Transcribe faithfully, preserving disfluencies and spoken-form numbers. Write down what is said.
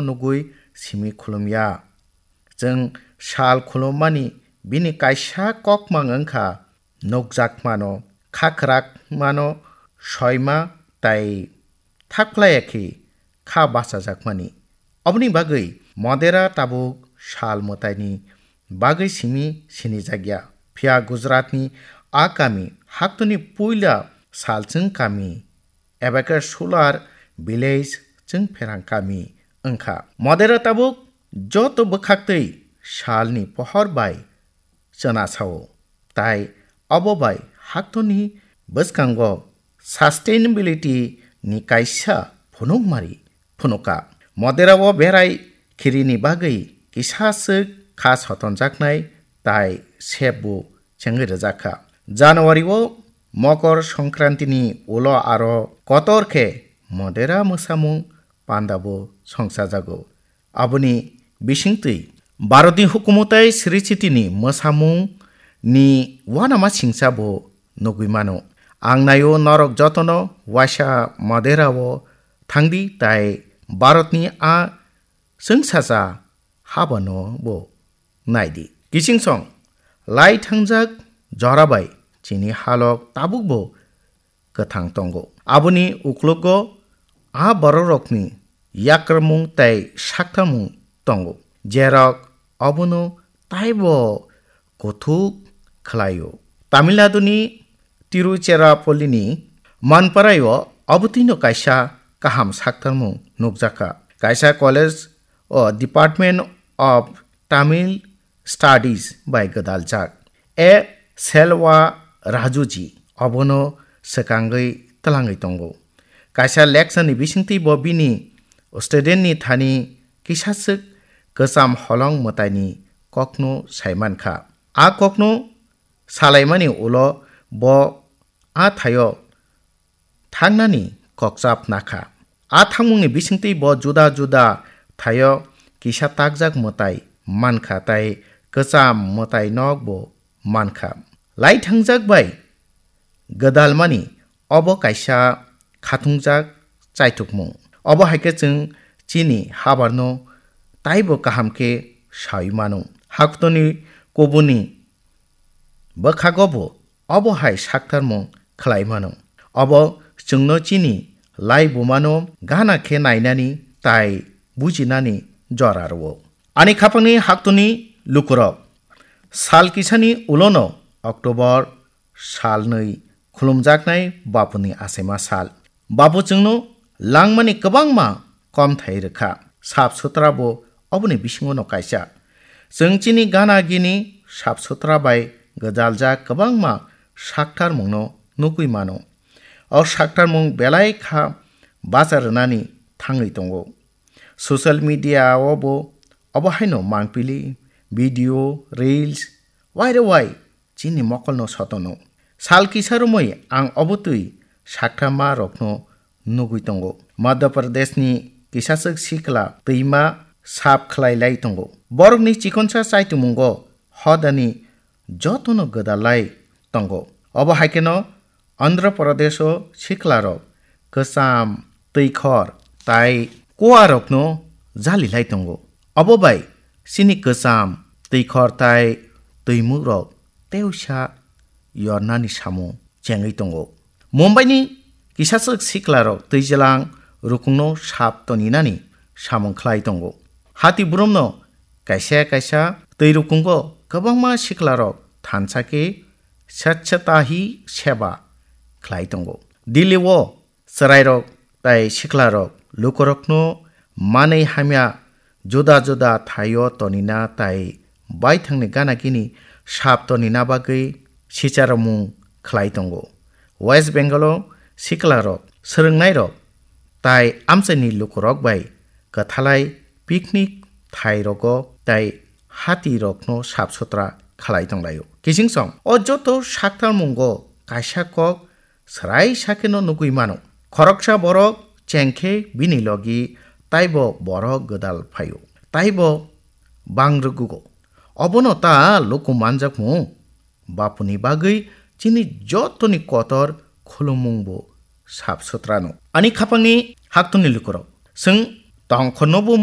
nugwi simi khulumya. Chwng sal khulummani bini kaisa kokmang wngkha, nukjakmano, khakrakmano, soima tai thakphlaiya khe kha bachajakmani. Oboni bagwi Modera tabuk sal mwtaini bagwi simi sinijakya. Phiya Gujaratni a kami haktwni puila salchwng kami eba khe Sular village chwng pherang kami wngkha. Modera tabuk joto bwkhaktwi salni pohor bai chwna sao. Tai obo bai haktwni bwskango sustainability ni kaisa phunukmari phunuka. Modera o berai khirini bagwi kisa swk kha sotonjaknai tai sep bo chengwi rwjakha. January o Mokor Songkrantini ulo aro kotor khe Modera mwsamung panda bo songchajago. Aboni bisingtwi Bharatni hukumu tai Sri Chitini mwsamung ni uanama singcha bo nugwi mano. Ang naio norok jotono waisa Modera o thangdi tai Bharatni a chwngsacha habano bo naidi. Kichingsong lai thangjak jora bai chini halok tabuk bo kwthang tongo. Aboni uklogo a bororokni yakrwmung tei saktamung tongo, jerok obono taibo kuthuk khlaio. Tamil Naduni Tiruchirappallini Manparaio obotwino kaisa kaham saktarmung nukjakha. Kaisa college o Department of Tamil Studies bai gwdaljak. A Selva Rajuji obono swkangwi twlangwi tongo. Kaisa lecture ni bisingtwi bo bini student ni thani kisaswk kwcham holong mwtaini kokno saimankha. A kokno salaimani ulo bo a thaio thangnani kokchap nakha. A thangmungni bisingtwi bo juda juda thaio kisa takjak mwtai mankha tai kwcham mwtai nok bo mankha. Lai thangjak bai gwdalmani obo kaisa khatungjak chaithokmung. Obo hai khe chwng chini habarno taibo kaham khe saui mano. Haktoni kubuni bwkhago bo obo hai saktarmung khlai mano. Obo chwngno chini lai bumano gana khe nainani tai bujinani jora rwo. Ani khapangni haktoni lukurok, sal kisani ulono October salnwi khulumjaknai Bapuni achaima sal. Bapu chwngno langmani kwbangma komthai rwkha. Sap sutra bo oboni bisingono kaisa. Chwng chini gana gini sap sutra bai gwdaljak kwbangma saktarmungno nugwi mano. O saktarmung belai kha bacha rwnani thangwi tongo. Social media o bo obo haino mangpili, video, reels, waire wai chini mokolno sotono. Sal kisa romwi ang obotwi sakthama rokno nugwi tongo. Madhya Pradeshni kisaswk sikla twima sap khlai lai tongo. Borokni chikonsa chaitumungo hodani jotono gwdalai tongo. Obo hai kheno Andhra Pradesho siklarok kwcham, twikhor tai kuarokno jalilai tongo. Obo bai chini kwcham, twikhor tai twimukrok teusa yornani samung chengwi tongo. Mumbaini kisaswk siklarok twijlang rukungno sap toninani samung khlai tongo. Hati burumno kaisa kaisa twi rukungo kwbangma siklarok thansa khe Swachhata Hi Seva khlai tongo. Delhi o chwrairok tai siklarok lukurokno manwi hamya juda juda thaio tonina tai baithangni gana gini sap tonina bagwi sicharomung khlai tongo. West Bengal o siklarok, swrwngnairok tai amchaini lukurok bai kwthalai picnic thairogo tai hatirokno sap sutra khlai tonglaio. Kichingsong o joto saktarmungo kaisa kok swrai sakheno nugwi mano. Khoroksa borok chengkhe bini logi taibo borok gwdal phaio, taibo bang rwgugo. Obono ta luku manjakmung? Bapuni bagwi chini jotoni kotor khulumung bo sap sutrano. Ani khapangni haktoni lukurok, chwng tongkhorno bo